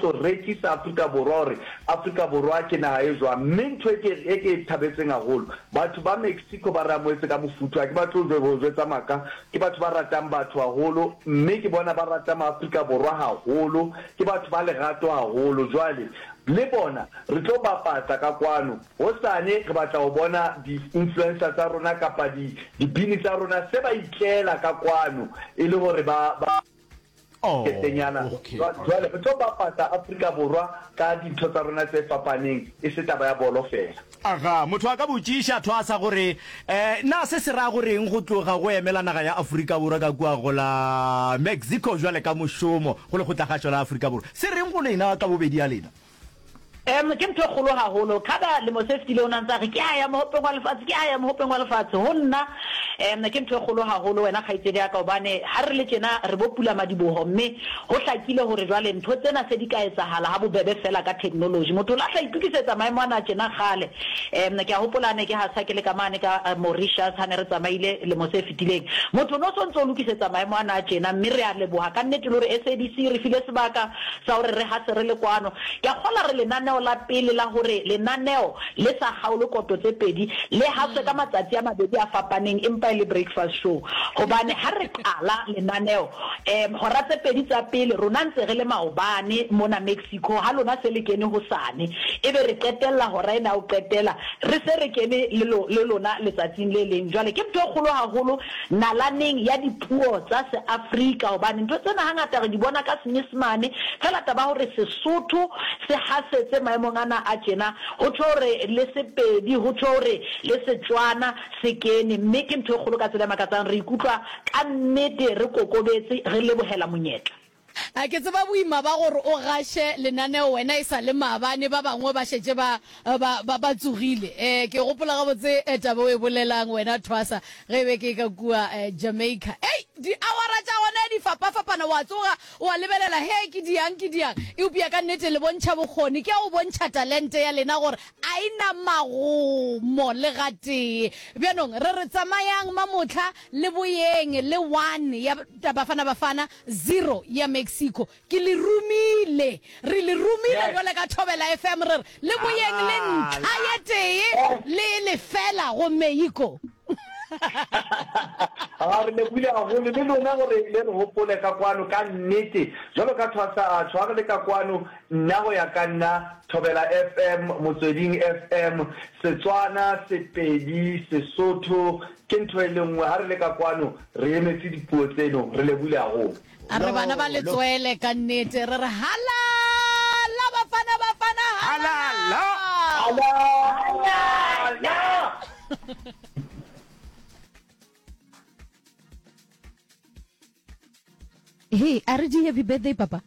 tlo rekisa Afrika Borwa gore Afrika Borwa ke naga e jwang. Mme ntho e ke e ke e thabetseng haholo, batho ba Mexico ba re amohetse ka mofuthu. Ha ke batle ho ho jwetsa maka, ke batho ba ratang batho haholo, mme ke bona ba rata maAfrika Borwa haholo. Ke batho ba lerato haholo. Jwale le bona re tlo bapatsa ka kwano. Hosane re batla ho bona di-influencer tsa rona kapa di dibini tsa rona se ba itlela ka kwano e le hore ba ba Oh, ketenyana. okay, Jwale re tlo bapatsa Afrika Borwa ka dintho tsa rona tse fapaneng, e se taba ya bolo feela. Aga, motho a ka botšiša thwasa gore, eh, na se se ra go reng go tloga go emela naga ya Afrika Borwa ka kua go la Mexico bjale ka mošomo go Lekgotlakgašo la Afrika Borwa? Se reng go lena ka bobedi ya lena? Em, ke ntho e kgolo haholo. Khada lemo se fetileng o ne a ntse a re, Ke a ya Mohopeng wa Lefatshe, ke a ya Mohopeng wa Lefatshe. Ho nna, em, ke ntho e kgolo haholo, wena kgaitsedi ya ka, hobane ha re le tjena re bo pulamadiboho, mme ho hlakile hore jwale ntho tsena se di ka etsahala ha bobebe feela ka theknoloji. Motho o lahla itokisetsa maemo ana a tjena kgale. Em, ke a hopola ha ne ke hasa ke le ka mane ka Mauritius, ha ne re tsamaile lemo se fetileng. Motho o no so ntse o lokisetsa maemo ana a tjena, mme re a leboha kannete le hore SABC e re file sebaka sa hore re hase re le kwano. Ke a kgola re lenaneo la pele la hore lenaneo le sa kgaolwe koto tse pedi, le haswe ka matsatsi a mabedi a fapaneng empa e le breakfast show. Hobane ha re qala lenaneo, um hora tse pedi tsa pele rona ntse re le maobane mona Mexico, ha lona se le kene hosane. Ebe re qetella hora ena ya ho qetela re se re kene le le lona letsatsing le leng. Jwale ke ntho e kgolo haholo nalaneng ya dipuo tsa Seafrika hobane ntho tsena hangata re di bona ka Senyesemane, feela taba ya hore Sesotho se hasetse maemong ana a tjena, ho tjho hore le Sepedi, ho tjho hore le Setswana se kene, mme ke ntho e kgolo ka tsela e makatsang. Re ikutlwa ka nnete re kokobetse, re lebohela monyetla. A Ke tseba boima ba gore o gaše lenaneo wena e sa le maabane, ba bangwe ba šetše ba, ba, ba, ba tsogile. E, ke gopola gabotse taba o e bolelang wena Thwasa, ge e be ke ka kua Jamaica. Ei, diawara tša gona di fapafapana, wa tsoga wa lebelela, he, ke diang, ke diang. Eupša ka nnete le bontšha bokgoni, ke ya go bontšha talente ya lena gore a e na magomo le gatee. Bjanong re re tsamayang mamohla le boyeng le one ya Bafana Bafana, Zero ya Mexico. Ke le romile. Re le romile bjale ka Thobela FM re re le boyeng le ntlha ye tee le lefela go Mexico. A re lebohile haholo le lona gore le re hopole ka kwano ka nnete jwalo ka thwasa a tjho ha re le ka kwano nna go ya ka nna Thobela FM Motsweding FM Setswana Sepedi Sesotho Ke ntho e le nngwe, ha re le ka kwano re emetse dipuo tseno, re lebohile haholo. A re bana ba letswele ka nnete re re halala bafana bafana halala. Halala! He, a re di happy birthday papa.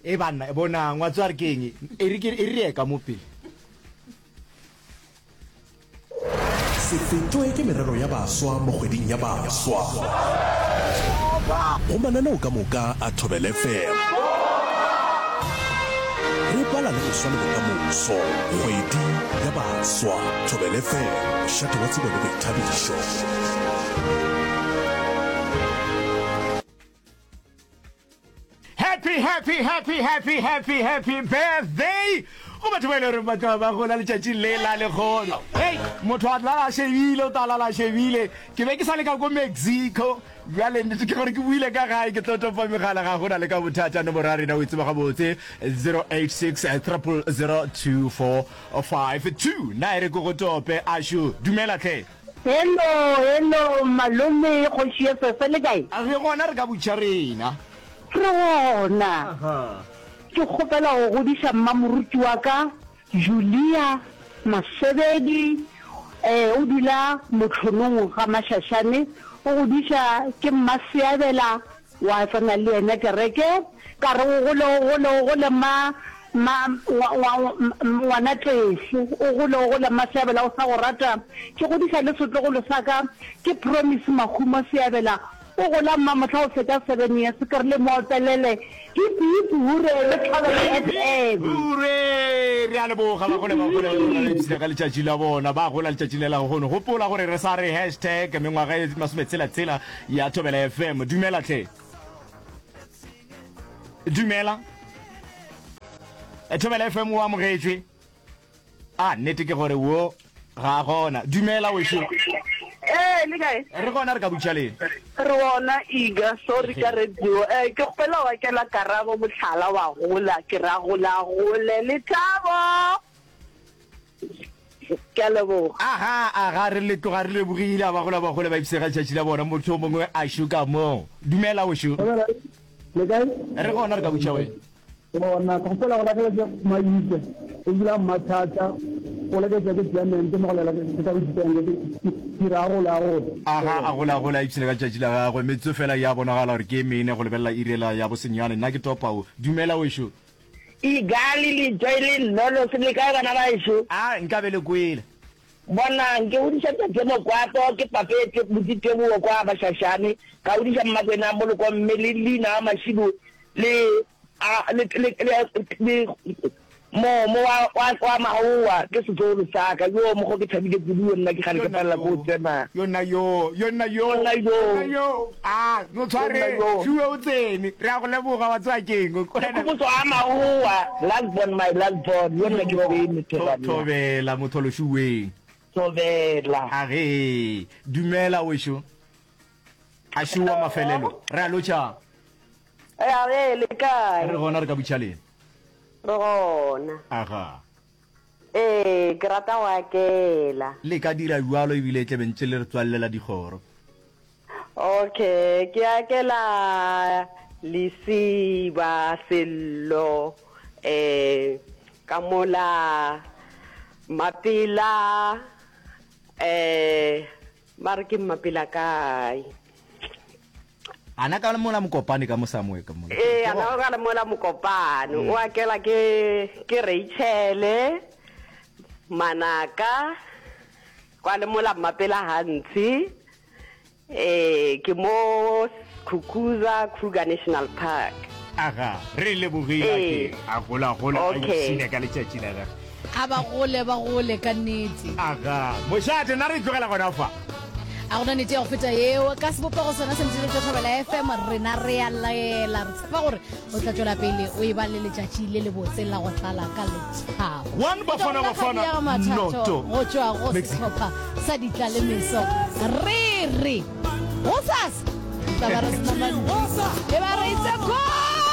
E banna, bonang, wa tseba re ke eng? E re ke e re ye ka mo pele. Se fetwe ke merero ya baswa mo kgweding ya baswa. Go mananeo ka moka a Thobela FM. Re bala le go swa le bokamoso. Kgwedi ya baswa. Thobela FM, mošate wa tsebo le boithabišo. Happy, happy, happy, happy, happy, happy birthday go batho ba e le gore ba tloga ba gola letšatšing le la lekgono. Hei, motho a lala a shebile, o tla lala a shebile. Ke be ke sa le ka ko Mexico, bjale nnete ke gore ke boile ka gae, ke tlo topa megala, ga gona le ka bothata. Nomoro ya rena o e tseba gabotse, 086 000 2452. Na e re ke go tope, ašo, dumela hle. Hello, hello, malome, kgoši ya Sese, le kae? Re gona, re ka butša rena. Re gona. Ke kgopela go godiša mmamoruti wa ka, Julia Masebedi, eh, o dula Mohlonong ga Mašašane, o godiša ke Mmaseabela Wa tsena le yena kereke, ka re o gole, o gole, o gole ma, ma, ngwa, ngwa, ngwana Tefo, o gole, o gole mma Seabela o sa go rata. Ke godiša le setlogolo sa ka, ke Promise Mahumo Seabela, o gola mma mohla o fetša seven years, ke re le mo opelele hip hip hure le Thobela FM. Hure! Re a leboga ba gole ba gole ba ba ipshina ka letšatši la bona, ba gola letšatši le la lehono. Gopola gore re sa re hashtag mengwaga e masometshela-tshela Ya Thobela FM. Dumela hle. Dumela. Thobela FM o amogetšwe. A nnete ke gore wo ga a gona. Dumela wešo. Ee, le kae? Re gona re ka butša leng? Re gona Iga, sorry ka radio. Eh, ke kgopela wa kela Karabo mohlala wa gola, ke ra gola gole lethabo. Ke a leboga. Aga, aga, re le tloga re lebogile, a ba gola ba gole ba ipsega letšatši la bona, motho o mongwe a šo ka mo. Dumela wešo. Dumela, le kae? Re gona re ka butša wena. Gona, ke kgopela go lahlela ke Maite, o dula Mmathatha, o leketša ke Clement mo go lela ke ka Botsipeng, ke ke ra gola gola. Aga, a gola gola a ipshina ka letšatši la gagwe, metsotso fela ya bonagala gore ke e mene go lebelela iri yela ya bosenyane. Nna ke topa o. Dumela wešo. Igali, Letšoi le Nnolosi, le kae bana baešo? A nka be le kwele. Bonang, ke godiša tate Mokwato, ke papetše buti Tebogo kwa Bašašane, ka godiša Mmakwena Moloko mme le Lina wa Mašibu le, a, le, le, le, le Momo wa, wa, wa Magowa, ke setlogolo sa ka. Yoo, mokgo ke thabile kudu, yo nna ke kgale ke palela ke go tsena. Yo nna yo, yo nna yo, Yo nna yo. yo nna yo. A, no tshware, Shuwe o tsene. Re a go leboga, wa tseba keng? Ke Khomotso a Magowa, last born, my last born. Yo nna ke tsene, Thobela. Thobela, motholo Shuweng. Thobela. Agee, dumela wešo. A Shuwa mafelelo. Re a lotšha. Agee, le kae? Re gona, re ka butša lena. Re gona. Aga. Ee, ke rata go akela. Le ka dira bjalo ebile e tle be ntše le re tswallela dikgoro. Okay, ke akela Lesiba, Sello, eh, ka mola Mapela, eh, ba re ke Mmapela kae? Ana ka mola Mokopane ka mo Samoe ka mola. Ee, ana ka mola Mokopane. O akela ke ke Rachel, Manaka, kwa le mola Mmapela Hantshi. Ee, ke mo Skukuza Kruger National Park. Aga, re lebogile Ee. ake a gola gola a Okay. ipshine ka letšatši la gage. A ba gole ba gole ka nnete. Aga, mošate nna re tlogela gona fa. A gona nete ya go feta yeo. Ka sebopego sona se ntšhile tša Thobela FM rena re a laela. Re tshepa gore o tla tšwela pele o e ba le letšatši le lebotse la go tlala ka lethabo. One Bafana Bafana noto Go tšwa go Mexico. sehlopha sa ditlalemeso re re gosasa tla ba re sena mantšu e ba re itse go.